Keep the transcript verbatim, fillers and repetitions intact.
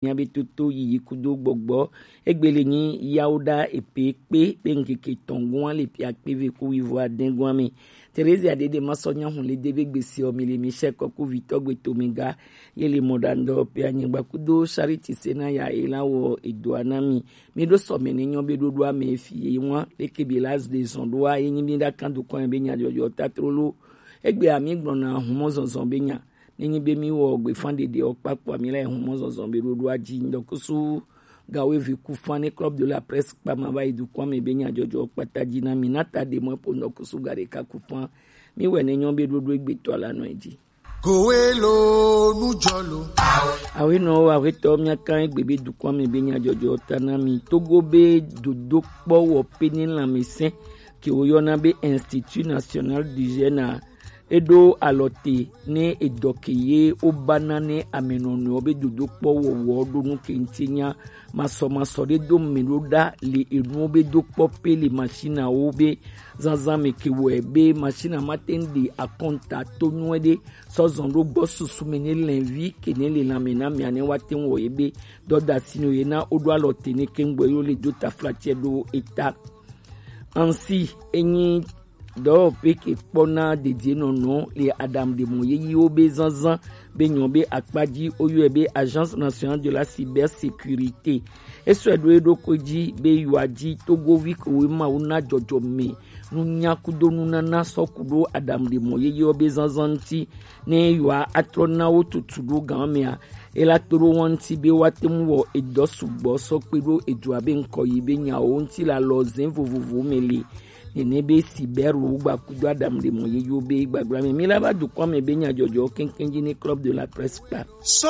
Mia be toto yiyi kudo gbɔgbɔ. Egbe le nyi yawo da epe kpe be nkeke tɔn gua le pia kpe ve ku wivo aden gua me. Terezia dede ma sɔ nya hun le de be gbesi o mi le mi sɛ kɔku vitɔ gbe to mi ga. Ye le mɔ da ndɔ pe anyigba kudo Charity Sena ya e la wɔ edo ana mi. Mi ɖo sɔmɛ ne nyɔ be ɖoɖo ame fi ye ŋua leke be la de zɔn ɖoa ye nyi mi ɖa kan do kɔn be nya jɔjɔ tatrolo. Egbe ami gblɔna humɔ zɔzɔ be nya. Ne nyi be mi wɔ gbefa ɖeɖe o kpakpo ami la humɔ zɔzɔ be ɖoɖo adzi ŋdɔ kusu gawo evi ku fa ne Club de la Presse kpa ma va yi dukɔ me be nya jɔjɔ kpata dzi na mi na ta de mɔ po ŋdɔ kusu ga ɖeka ku fa. Mi wɛ ne nyɔ be ɖoɖo egbe tɔ la nɔ edzi. Kowe lo nu jɔ lo. Awe nɔ awe tɔ mia kan egbe be dukɔ me be nya jɔjɔ ta na mi Togo be dodo kpɔ wɔ pe ne lãmesẽ ke woyɔna be Institut National du Jeune a. Eɖo alɔ te ne edɔ ke ye wobana ne amenɔnɔewo be dodokpɔ wɔwɔ ɖo nu ke ŋuti nya masɔmasɔ ɖe do me ɖo ɖa le enuwo be dokpɔ pe le machinawo be zazã me ke wɔe be machina ma te ŋ ɖe akɔnta to nyuie ɖe sɔ zɔn ɖo gbɔ susu me ne lɛnvi ke ne le lãme na mia ne wa te ŋ wɔ ye be dɔdasi no ye na woɖo alɔ te ne ke ŋgbɔ ye wo le do taflatsɛ ɖo eta. Ansi enyi dɔwɔƒe ke kpɔna dedienɔnɔ le aɖaŋuɖemɔ yeyewo be zazã be nyɔ be akpa dzi woyɔe be Agence Nationale de la Cybersécurité. Esɔe ɖo eɖokui dzi be yewoadzi Togovi kewo Mawu na dzɔdzɔme nunya kudo nunana sɔ ku ɖo aɖaŋuɖemɔ yeyewo be zazã ŋuti ne yewoa atrɔ na wo tutu ɖo gan mea. Ela to ɖo wo ŋuti be woate ŋu wɔ edɔ sugbɔ sɔ kpe ɖo edua be ŋkɔ yi be nyawo ŋuti le alɔze vovovowo me le. Nene be Sibɛro gba kudo aɖaŋuɖemɔ yeyewo be gbagblame mi la va dukɔ me be nyadzɔdzɔ keŋkeŋ dzi ne Club de la Presse kpa. Sɔ